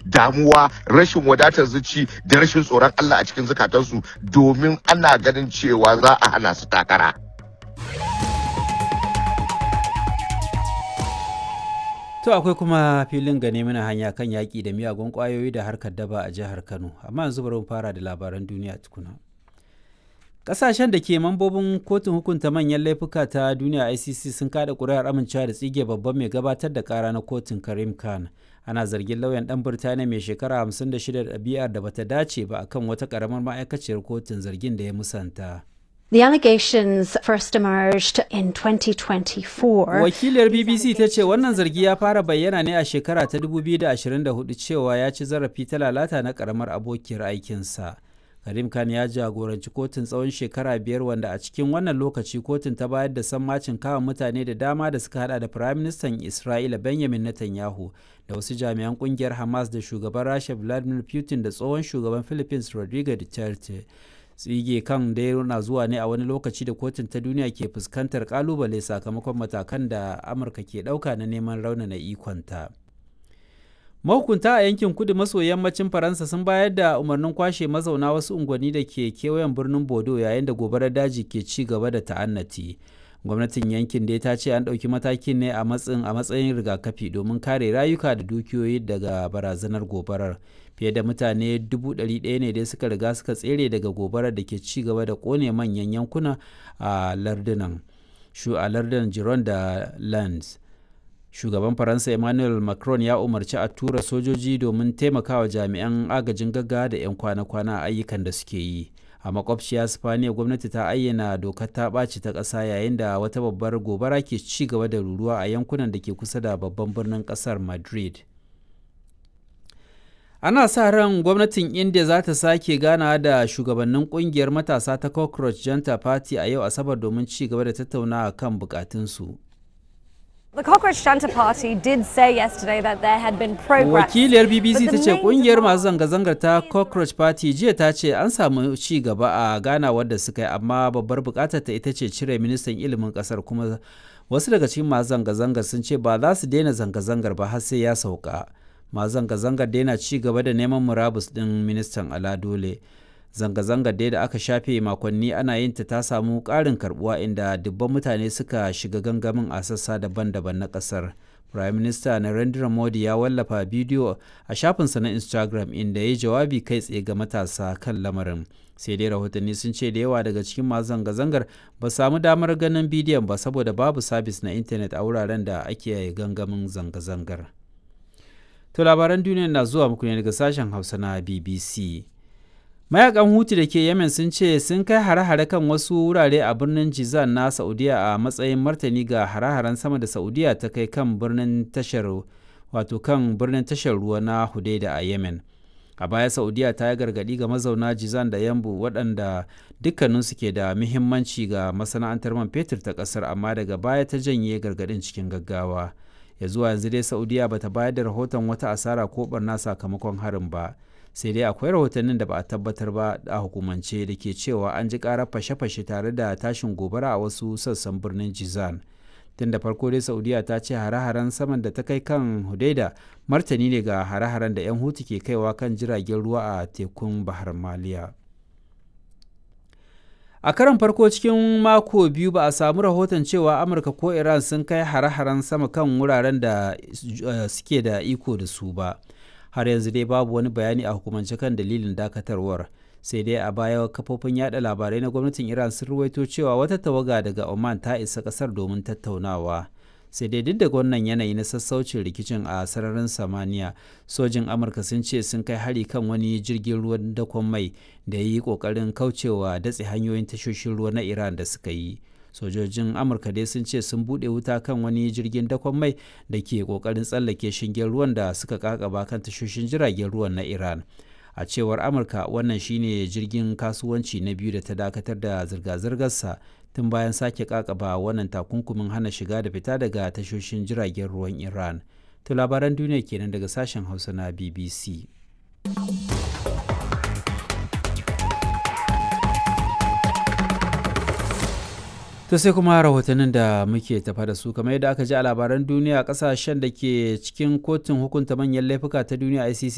damuwa, rashin wadatar zuci da rashin tsoron Allah a cikin zukatansu, domin ana ganin cewa za a hana su takara. To akwai kuma filin gane mana hanya kan yaƙi da miyagun ƙwayoyi da harkar daba a jihar Kano. Amma yanzu bari mu fara da labaran duniya tukuna. Ƙasashen da ke mambobin kotun hukunta manyan laifuka ta duniya ICC sun kada ƙuri'ar amincewa da tsige babban mai gabatar da ƙara na kotun Karim Khan. Ana zargin lauyan ɗan Birtaniya mai shekara 56 da ɗabi'ar da bata dace ba akan wata ƙaramar ma'aikaciyar kotun, zargin da ya musanta. The allegations first emerged in 2024. Wakiliyar BBC ta ce wannan zargi ya fara bayyana ne a shekara ta 2024 cewa ya ci zarafi ta lalata na karamar abokiyar aikinsa. Karim Khan ya jagoranci kotun tsawon shekara 5, wanda a cikin wannan lokaci kotun ta bayar da sammacin kama mutane da dama da suka hada da Firaministan Isra'ila Benjamin Netanyahu da wasu jami'an kungiyar Hamas da shugaban Rasha Vladimir Putin da tsohon shugaban Philippines Rodrigo Duterte. Tsige kan dai na zuwa ne a wani lokaci da kotun ta duniya ke fuskantar kalubale sakamakon matakan da Amurka ke ɗauka na neman raunana ikonta. Mahukunta a yankin kudu maso yammacin Faransa sun bayar da umarnin kwashe mazauna wasu unguwanni da ke kewayen birnin Bodo yayin da gobarar daji ke ci gaba da ta'annati. Gwamnatin yankin dai ta ce an ɗauki matakin ne a matsayin rigakafi domin kare rayuka da dukiyoyi daga barazanar gobarar. Fiye da mutane 100,000 ne dai suka riga suka tsere daga gobarar da ke ci gaba da kone manyan yankuna a lardunan shu a lardunan Gironde da Lands. Shugaban Faransa Emmanuel Macron ya umarci a tura sojoji domin taimakawa jami'an agajin gaggawa da 'yan kwana-kwana a ayyukan da suke yi. A makwabciya Spaniya, gwamnati ta ayyana dokar ta ɓaci ta ƙasa yayin da wata babbar gobara ke ci gaba da ruruwa a yankunan da ke kusa da babban birnin ƙasar Madrid. Ana sa ran gwamnatin India za ta sake ganawa da shugabannin kungiyar matasa ta Cockroach Janta Party a yau Asabar domin ci gaba da tattaunawa kan bukatunsu. The Cockroach Janta Party did say yesterday that there had been progress. Wakiliyar BBC ta ce kungiyar masu zanga-zangar ta Cockroach Party jiya ta ce an samu ci gaba a ganawar da suka yi, amma babbar bukatar ta ita ce cire ministan ilimin kasar, kuma wasu daga cikin masu zanga-zangar sun ce ba za su daina zanga-zangar ba har sai ya sauka. Masu zanga-zangar daina ci gaba da neman murabus din ministan ala dole. Zanga-zangar dai da aka shafe makonni ana yin ta ta samu ƙarin karbuwa, inda dubban mutane suka shiga gangamin a sassa daban-daban na ƙasar. Prime Minister Narendra Modi ya wallafa bidiyo a shafinsa na Instagram inda ya jawabi kai tsaye ga matasa kan lamarin. Sai dai rahotanni sun ce da yawa daga cikin masu zanga-zangar ba samu damar ganin bidiyon ba saboda babu sabis na intanet a wuraren da ake gangamin zanga-zangar. To labaran duniya na zuwa muku ne daga sashen Hausa na BBC. Mayakan Hutu da ke Yemen sun ce sun kai hare-hare kan wasu wurare a birnin Jizan na Saudiya a matsayin martani ga hare-haren sama da Saudiya ta kai kan birnin tashar, wato kan birnin tashar ruwa na Hudaida a Yemen. A baya Saudiya ta yi gargaɗi ga mazauna Jizan da Yambu, waɗanda dukkaninsu ke da muhimmanci ga masana'antar man fetur ta ƙasar, amma daga baya ta janye gargaɗin cikin gaggawa. Ya zuwa yanzu dai Saudiya bata bayar da rahoton wata asara ko barna sakamakon harin ba. Sai dai akwai rahotannin da ba a tabbatar ba a hukumance da ke cewa an ji karar fashe-fashe tare da tashin gobara a wasu sassan birnin Jizan. Tun da farko dai Saudiya ta ce hare-haren saman da ta kai kan Hudaida martani ne ga hare-haren da 'yan Hutu ke kaiwa kan jiragen ruwa a tekun Bahar Maliya. A karon farko cikin mako 2 ba a samu rahoton cewa Amurka ko Iran sun kai hare-haren sama kan wuraren da suke da iko da su ba. Har yanzu dai babu wani bayani a hukumance kan dalilin dakatarwar. Sai dai a baya kafofin yada labarai na gwamnatin Iran sun ruwaito cewa wata tawaga daga Oman ta isa kasar domin tattaunawa. Sai dai duk da wannan yanayi na sassaucin rikicin a sararin samaniya, sojin Amurka sun ce sun kai hari kan wani jirgin ruwan dakon mai da ya yi kokarin kaucewa datse hanyoyin tashoshin ruwa na Iran da suka yi. Sojojin Amurka dai sun ce sun buɗe wuta kan wani jirgin dakon mai da ke kokarin tsallake shingen ruwan da suka kakaba kan tashoshin jiragen ruwan na Iran. A cewar Amurka, wannan shine jirgin kasuwanci na biyu da ta dakatar da zirga-zirgarsa tun bayan sake kakaba wannan takunkumin hana shiga da fita daga tashoshin jiragen ruwan Iran. To labaran duniya kenan daga sashen Hausa na BBC. To sai kuma rahotannin da muke tafa da su. Kamar yadda aka ji a labaran duniya, kasashen da ke cikin kotun hukunta manyan laifuka ta duniya ICC